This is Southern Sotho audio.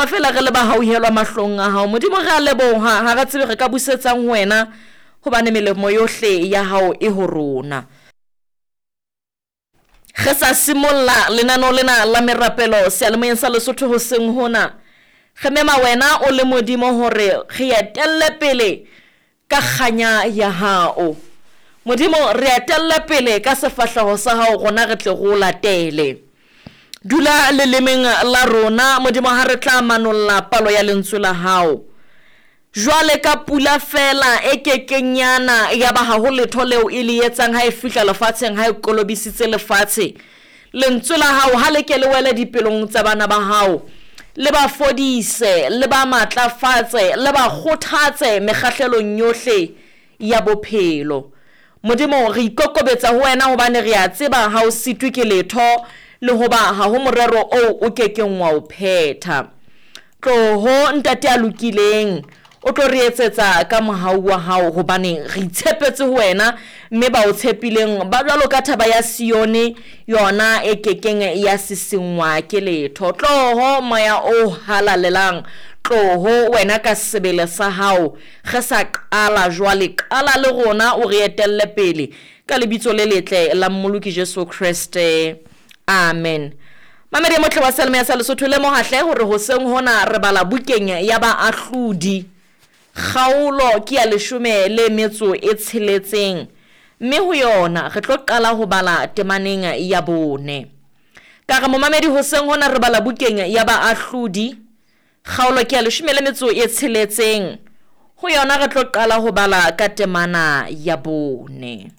ikutlwa feela re le ba hauhelwa mahlong a hao. Modimo, re a leboha, ha re tsebe re ka busetsang ho wena, hobane melemo yohle ya hao e ho rona. Re sa simolla lenaneo lena la merapelo seyalemoyeng sa Lesotho hoseng hona, re mema wena o le Modimo hore re etelle pele ka kganya ya hao. Modimo, re etelle pele ka sefahleho sa hao rona re tle re o latele. Dula lelemeng la rona, Modimo, ha re tla manolla palo ya lentswe la hao. Jwale ka pula feela e ke keng ya na, yaba ha ho letho leo e le etsang ha e fihla lefatsheng, ha e kolobisitse lefatshe. Lentswe la hao ha le ke le wele dipelong tsa bana ba hao, le ba fodise, le ba matlafatse, le ba kgothatse mekgahlelong yohle ya bophelo. Modimo, re ikokobetsa ho wena hobane re a tseba ha o sitwe ke letho le hoba ha ho morero oo o ke keng wa o phetha. Tloho, Ntate ya lokileng, o tlo re etsetsa ka mohau wa hao, hobane re itshepetse ho wena, mme ba o tshepileng ba jwalo ka thaba ya Sione, yona e ke keng ya sisinngwa ke letho. Tloho, Moya o Halalelang, tloho wena ka sebele sa hao, re sa qala jwale, qala le rona, o re etelle pele, ka lebitso le letle la Mmoloki Jesu Kreste. Amen. Mamedi e motle wa Seyalemoya sa Lesotho, lemoha hle hore hoseng hona re bala bukeng ya Baahlodi. Kgaolo ke ya leshome le metso e tsheletseng, mme ho yona re tlo qala ho bala temaneng ya bone. Ka re momamedi hoseng hona re bala bukeng ya Baahlodi, kgaolo ke ya leshome le metso e tsheletseng, ho yona re tlo qala ho bala ka temana ya bone.